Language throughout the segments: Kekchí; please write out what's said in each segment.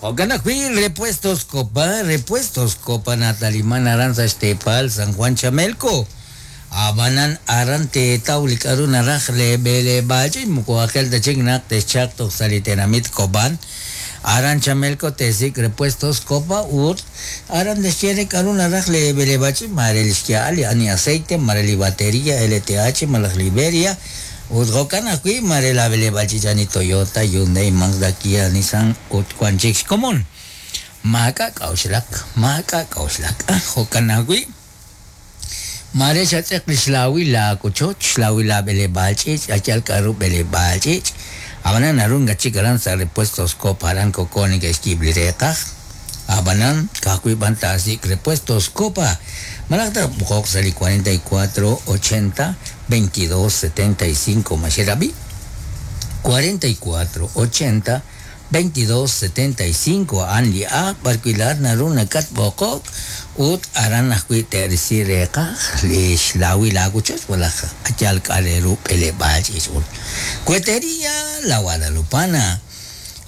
Jo'kan ajwi' Repuestos Copa, Repuestos Copa nataliman aran sa' xteepal San Juan Chamelco. Ab'anan aran teetaw li k'a'ru naraj lee b'eleb'aal ch'iich' moko aajel ta chik naq texchalq toj sa' li tenamit Cobán. Aran Chamelco teesik' Repuestos Copa ut aran texye re k'a'ru naraj lee b'eleb'aal ch'iich' maare li xya'al li ani aceite, maare li bateria, LTH malaj Liberia. Ut jo'kan ajwi' maare laab'eleb'aal ch'iich' ani Toyota, Hyundai, Mazda, Kia, Nissan ut wan chik xkomon. Maak'a' k'a'uxlak, maak'a' k'a'uxlak. Ah, jo'kan ajwi', maare xatz'eq li xlaawil laawochoch, xlaawil laab'eleb'aal ch'iich', a yal k'a'ru b'eleb'aal ch'iich'. Ab'anan naru ink'a' chik aran sa' Repuestos Copa aran koko neke'xyiib' li reeqaj. Ab'anan ka'ajwi' b'an taasik' Repuestos Copa malaj tatb'oqoq sa' li 44 80 22 75 ma xerab'i? 44 80 22 75 a'an li ajl b'arwi' laa'at naru nakatb'oqok ut aran ajwi' te'risi reeqaj li xlaawil aawochoch malaj yal k'a' re ru b'eleb'aal ch'iich' ut Cuetería La Guadalupana.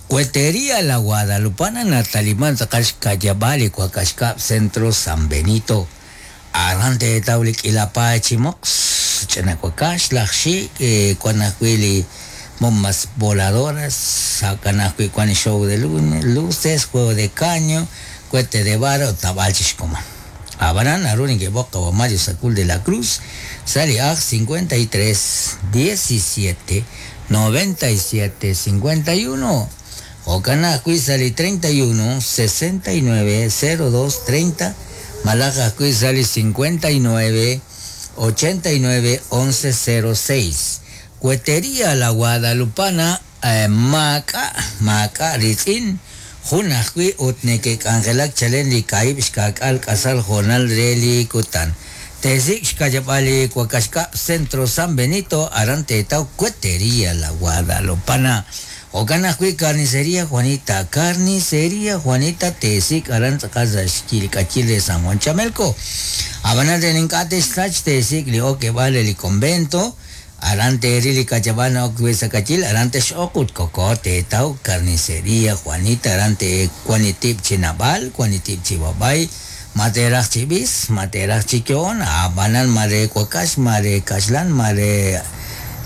Cuetería La Guadalupana nataliman tz'aqal xka'yab'aal li wakax kab' Centro San Benito. Aran teetaw li k'iila paay chi moqs, ch'ina wakax, laj xik', wan ajwi' li bombas voladoras, jo'kan ajwi' wan li show de luces, juego de caño, cohete de vara ut naab'al chik xkomon. Ab'anan naru neke'b'oq qawa' Mario Sacul de la Cruz sa' li ajl 53 17 97 51 Jo'kan ajwi' sa' li 31 69 02 30 malaj ajwi' sa' li 59 89 11 06. Cuetería La Guadalupana maak'a' maak'a' riitz'in, jun ajwi' ut neke'k'anjelak chalen li kaahib' xka'k'aal k'asal hoonal re li kutan. Teesik' xka'yab'aal li wakax kab' Centro San Benito aran teetaw Cuetería La Guadalupana. Jo'kan ajwi' Carnicería Juanita, Carnicería Juanita teesik' aran tz'aqal sa' xk'ilk'achil re San Juan Chamelco. Ab'anan re ink'a' texsach teesik' li okeb'aal re li convento, aran teeril li ka'yab'aal na'ok wi' sa' k'ayil, aran tex'oq ut koko teetaw Carnicería Juanita, aran teewan li tib' chi naab'al, wan li tib' chi b'ab'ay, ma teeraj chi b'is, ma teeraj chi yo'on, ab'anan ma re wakax, ma re kaxlan, ma re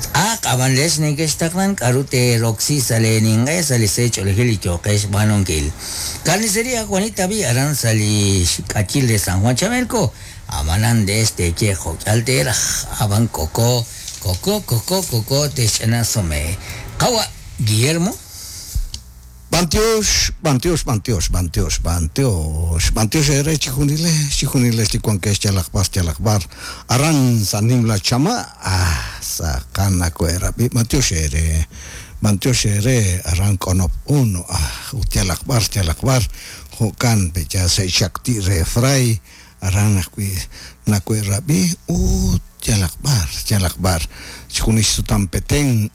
tz'aq, ab'an leex neke'xtaqlan k'a'ru teeroksi sa' lee ninq'e sa' li se ch'oolejil li yooqex xb'aanunkil. Carnicería Juanita b'i' aran sa' li xk'ayil re San Juan Chamelco, ab'anan leex teeye jo'k'ihal teeraj, ab'an koko, koko, koko, koko te'xch'ina sume. Qawa' Guillermo. B'antiox, b'antiox, b'antiox, b'antiox, b'antiox, b'antiox eere chijunilex, chijunilex li wankex yalaq b'ar, yalaq b'ar, aran sa' nimla chama', ah, sa' nakohe'rab'i, b'antiox eere, b'antiox eere aran K'onop Uno, ah, ut yalaq b'ar, yalaq b'ar, jo'kan pe ya se'xakti' re Fray, aran ajwi' nakohe'rab'i ut yalaq b'ar, yalaq b'ar, chijunil xsutam Petén,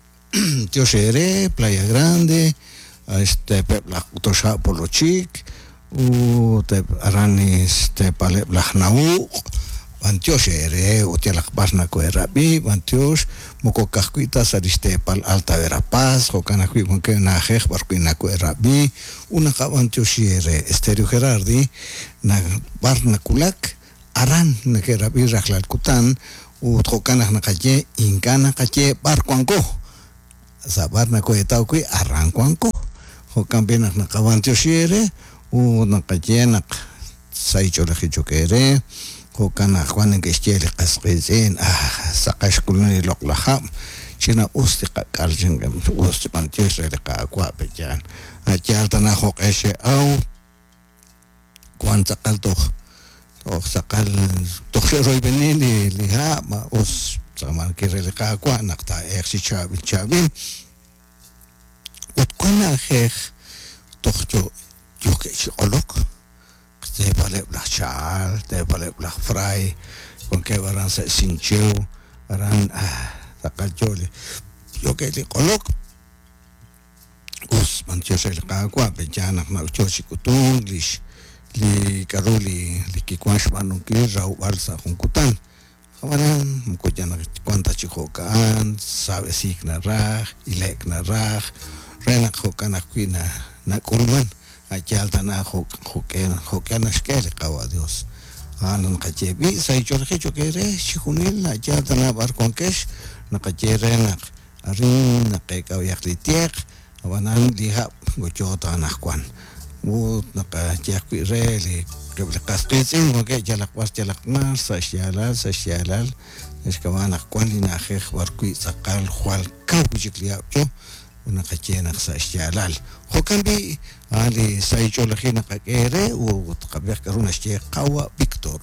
Tiox eere, Playa Grande, este peb' laj K'utoxa' Polochik, ut eb' aran este paleb' laj Nauq', b'antiox eere ut yalaq b'ar nakohe'rab'i, b'antiox moko ka'ajwi' ta sa' li xteepal Alta Verapaz, jo'kan ajwi' wankeb' na'ajej b'arwi' nakohe'rab'i ut naqab'antioxi eere. Estéreo Gerardi b'ar nawulak aran neke'rab'i rajlal kutan ut jo'kan naq naqaye ink'a' naqaye b'ar wanko, sa' b'ar nakohe'taw wi' aran wanko, jo'kan b'i' naq naqab'antioxi eere ut naqaye naq sahil ch'oolejil cho'q eere, jo'kan naq wan neke'xye li qas qiitz'in, ah, saqal xk'ulunk li loq'laj hab', ch'ina-us li qak'al, us b'antiox re li Qaawa' pe'yaal, a' yaal tana jo'q'e xe'aw. Wan tz'aqal toj toj tz'aqal toj xe'royb'eni li li ha' ma us tz'aamankil re li Qaawa' naq taa'elq chi chaab'il chaab'il ut wan na'ajej toj yo yookeb' chi q'olok xteepaleb' laj Chahal, xteepaleb' laj Fray, wankeb' aran sa' Sincheu, aran tz'aqal yo li yookeb' li q'olok. Us, b'antiox re li Qaawa', pe'yaal naq yo chi k'utunk lix li k'a'ru li li kiwan xb'aanunkil rawb'al sa' jun kutan. Ab'anan moko yal naq wan ta chi jo'ka'an, saab'esiik naraj, ile'k naraj, re naq jo'kan ajwi' na nak'ulman. A'yaal tana jo'k'e naxk'e li Qawa' Dios. A'an naqaye b'i' sa' ich'oolejil cho'q eere chixjunil a'yaal tana b'ar wankex naqaye re naq arin naqeek'ab'ayaq li tieq ab'anan li hab' goyo ta anaqwan. Ut naqaye ajwi' re li eb' li qas qiitz'in wankeb' yalaq b'ar yalaq mar sa' xyaalal sa' xyaalal xk'ab'a' naq wan li na'ajej b'ar wi' tz'aqal jwal kaw wi'chik li hab' yo ut naqaye naq sa' xyaalal. Jo'kan b'i' a'an li sa' ich'oolejil naqak'e eere ut qab'ihaq k'aru naxye Qawa' Víctor.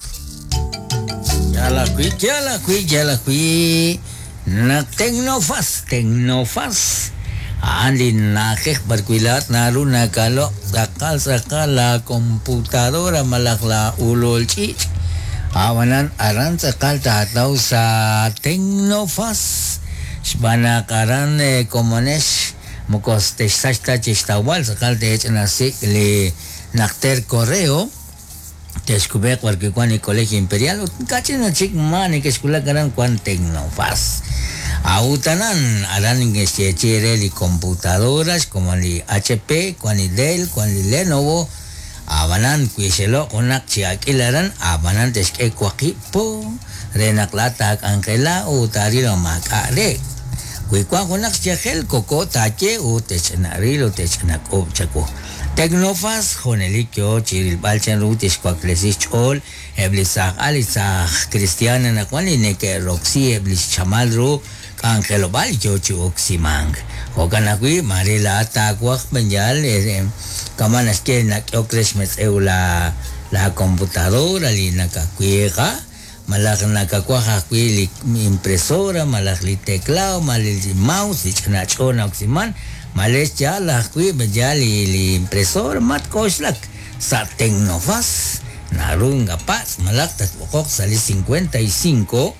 Yaal ajwi', yaal ajwi', yaal ajwi' naq Tecnofas, Tecnofas, a'an li na'ajej b'ar wi' laa'at naru nakaloq' tz'aqal tz'aqal la computadora malaj la ulul ch'iich'. Ab'anan aran tz'aqal taataw sa' Tecnofas xb'aan naq aran komonex moko texsach ta chixtawb'al tz'aqal teech'inasik' li najter correo texkub'eeq b'ar wi' wan li Colegio Imperial ut kach'in chik ma neke'xwulak aran wan Tecnofas. A'ut aran aran neke'xyeechi'i re li computadora xkomon li HP, wan li Dell, wan li Lenovo, ab'anan wi xeloq' junaq chi ak'il aran ab'anan texk'e waqib' po re naq laa'at taak'anjela ut taaril ma maak'a' re. Wi wan junaq xyajel koko taaye ut tech'ina'ril ut tech'inak'uub' chawu. Tecnofas junelik yo chi rilb'al chanru tixwaklesi xch'ool eb' li saaj al li saaj cristiano anaqwan li neke'roksi eb' li xchamal ru k'anjelob'aal yo chi oksimank. Jo'kan ajwi' mare laa'at taawaj b'enyal kama' naxye nak'ehok re xmetz'ew la la computadora li nakawiiqa malaj nakawaj ajwi' li impresora malaj li teclado malaj li mouse li ch'ina ch'o na'oksiman male yaal ajwi' b'enyal li impresora matk'oxlak sa' Tecnofas naru ngapatz' malaj tatb'oqoq sa' li 55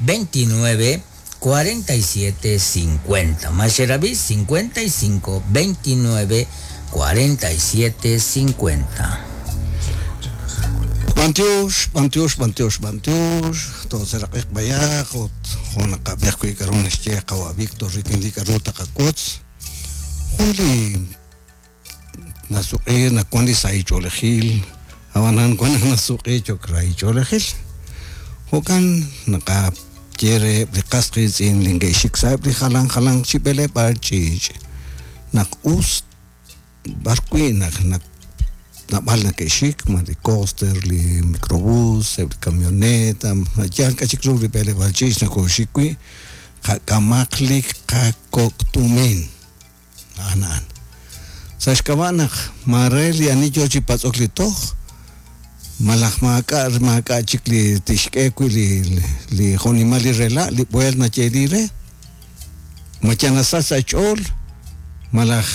29 47 50. Maxerabi 55 29 47 50. B'antiox, b'antiox, b'antiox, b'antiox, toseraq'iq b'ayaq ut jo' naqab'ej wi' k'aru naxye Qawa' Víctor rik'in li k'aru taqawotz. Jun li nasuq'i nawan li sa' ich'oolejil ab'anan wan naq nasuq'i cho'q ra ich'oolejil. Jo'kan naqaye reheb' li qas qiitz'in li nke'xik sa'eb' li jalan jalanq chi b'eleb'aal ch'iich' naq us b'ar wi' naq naab'al neke'xik ma li coaster, li microbús, eb' li camioneta, yal k'a chik ru li b'eleb'aal ch'iich' nakooxik wi' qak'amaq li qakok' tumin. A'an a'an. Sa' xk'ab'a' naq mare li ani yo chi patz'ok li toj malaj maak'a' maak'a' chik li tixk'e wi' li li jo'nimal li rela' li b'uelt nayeeli re ma yal nasach sa' xch'ool malaj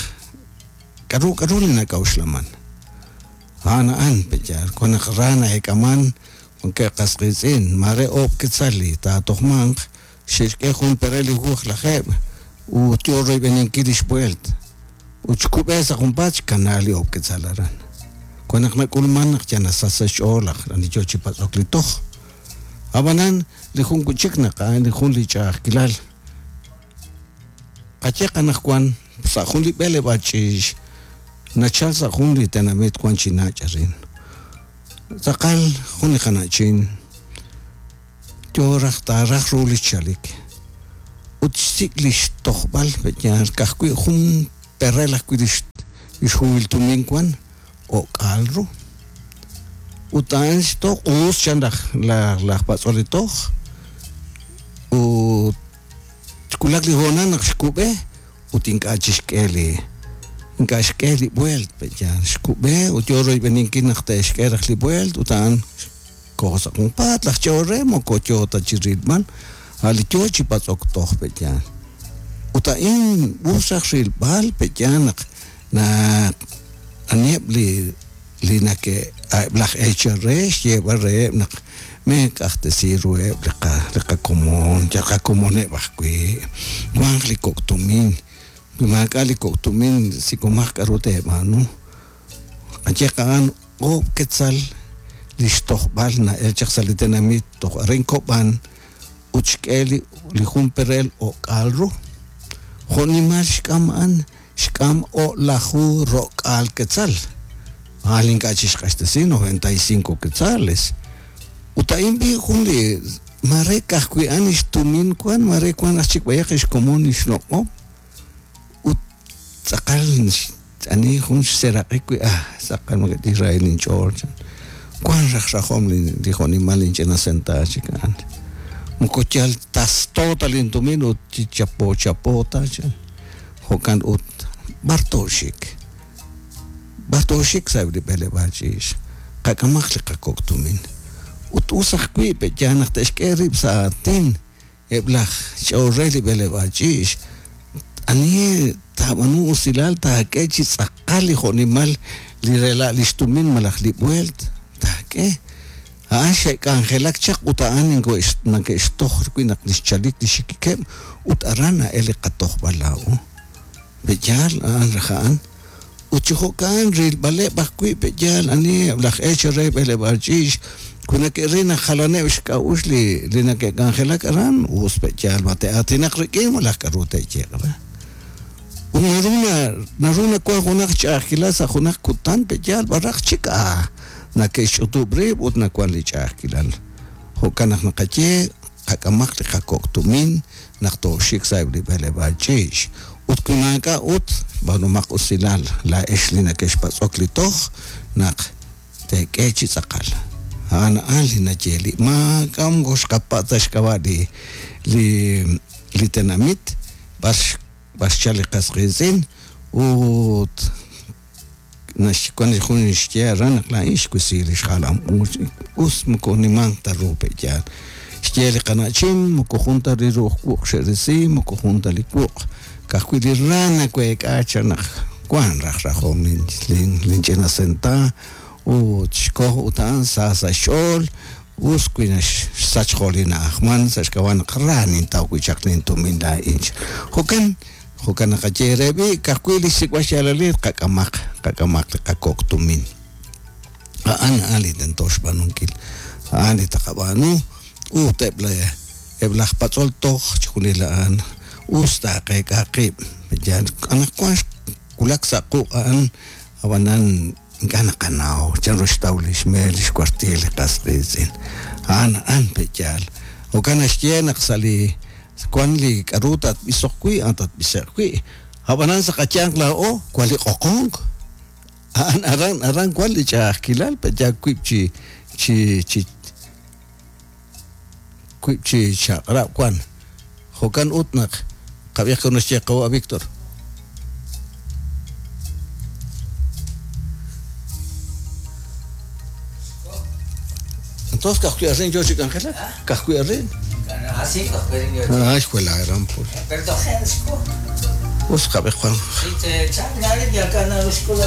k'aru k'aru li nak'a'uxlaman. A'an a'an pe'yaal wan naq ra na'eek'aman wankeb' qas qiitz'in mare oob' quetzal li taatojmanq xe'xk'e jun perel li hu lajeeb' ut yo royb'eninkil li xb'uelt ut xkub'e sa' junpaat xkana li oob' quetzal aran. Wan naq nak'ulman naq yal nasach sa' xch'ool laj ani yo chi patz'ok li toj. Ab'anan li jun wi'chik naq a'an li jun li ch'a'ajkilal. Qaye qanaqwan sa' jun li b'eleb'aal ch'iich' nachal sa' jun li tenamit wan chi nach' arin. Tz'aqal jun li qana'chin yo raj taaraj ru li xchalik ut xsik' li xtojb'al pe'yaal ka'ajwi' jun perel ajwi' li xhuhil tumin wan o'k'aal ru. Ut a'an xtoj us chan laj laj patz'ol li toj ut xwulak li hoonal naq xkub'e ut ink'a' chixk'e li ink'a' xk'e li b'uelt pe'yaal xkub'e ut yo royb'eninkil naq te'xk'e raj li b'uelt ut a'an koho sa' junpaat laj ch'ool re moko yo ta chi rilb'al a' li yo chi patz'ok toj pe'yaal. Ut a'in us raj rilb'al pe'yaal naq naq aniheb' li li nake' eb' laj eechal re xyeeb'al reheb' naq meek'ajtesi ruheb' li qa li qakomon yal qakomoneb' ajwi' wanq li kok' tumin wi maak'a' li kok' tumin sik'omaq k'aru teeb'aanu. Qaye a'an oob' quetzal li xtojb'al na'el chaq sa' li tenamit toj arin Kob'an ut xk'e li li jun perel o'k'aal ru. Jo'nimal xk'am a'an xk'am o'laju ro'k'aal quetzal. A'an ink'a' chixq'axtesi 95 quetzales. Ut a'in b'i jun li mare ka'ajwi' a'an xtumin wan, mare wan aj chik b'ayaq xkomon xloq'om. Ut tz'aqal ani jun xseeraq'ik wi' tz'aqal mak'e Israel inch'ool chan. Wan raj rajom li jo'nimal inch'ina sentaavo chik a'an. Moko yal tasto ta lintumin ut chi chapo chapo ta chan. Jo'kan ut b'ar tooxik. B'ar tooxik sa'eb' li b'eleb'aal ch'iich'. Qak'amaq li qakok' tumin. Ut us ajwi' pe'yaal naq te'xk'e rib' sa' aatin eb' laj ch'ool re li b'eleb'aal ch'iich'. Ani taab'aanu usilal taak'e chi tz'aqal li jo'nimal li rela' li xtumin malaj li b'ueelt taak'e. A'an xe'k'anjelak chaq ut a'an nake'xtoj wi' naq li xchalik li xikikeb' ut aran na'el li qatojb'al laa'o. Pe'yaal a'an raj a'an. Ut chi jo'kan rilb'aleb' ajwi' pe'yaal ani eb' laj eech re b'eleb'aal ch'iich' wi nake'ril naq jalaneb' xk'a'uxl li nake'k'anjelak aran us pe'yaal ma te'aatinaq rik'in malaj k'aru te'yeeq re. Ut naru nawan junaq ch'a'ajkilal sa' junaq kutan pe'yaal b'araq chik nake'xch'utub' rib' ut nawan li ch'a'ajkilal. Jo'kan naq naqaye qak'amaq li qakok' tumin naq tooxik sa'eb' li b'eleb'aal ch'iich'. Ut wi maak'a' ut b'aanumaq usilal laa'ex li nake'xpatz'ok li toj naq teek'e chi tz'aqal. A'an a'an li naye li maak'a' moko xqapatz' ta xk'ab'a' li tenamit b'ar xchal li qas qiitz'in ut naxwan li jun xye aran naq laa'in xwisi li xjalam uuch us moko nimanq ta ru pe'yaal. Xye li qana'chin moko jun ta li ru'uj wuq' xe'risi moko jun ta li wuq' ka'ajwi' li ra naweek'a chan naq wan raj rajom linch'ina senta ut xkoj ut a'an sa sa' xch'ool us wi naxsach jo' li na'ajman sa' xk'ab'a' naq ra nintaw wi' chaq lintumin laa'in. Jo'kan jo'kan naqaye re b'i' ka'ajwi' li xsik'b'al xyaalalil qak'amaq qak'amaq li qakok' tumin. A'an a'an li tento xb'aanunkil. A'an li taqab'aanu ut eb' laj patz'ol toj chixjunil a'an us taaqeek'a qib'. Anaqwan xwulak sa' quq' a'an ab'anan ink'a' naqanaw chanru xtaw li xmeel li xkuartiil li qas qiitz'in. A'an a'an pe'yaal. Jo'kan naxye naq sa' li wan li k'aru tatb'isoq wi' a'an tatb'ise'q wi'. Ab'anan sa' qayanq laa'o wan li q'oqonk. A'an aran aran wan li ch'a'ajkilal pe'yaal wib' chi chi chi wib' chi chaq'rab' wan. Jo'kan ut naq qab'ij k'aru naxye qawa' Víctor. Entonces ka'ajwi' arin yo chi k'anjelak? Ka'ajwi' arin? Así ka'ajwi' arin yo. Ah, xwela aran pur. Pero tojen xko. Us qab'ij Juan. Sí, te chan nari ya kana escuela.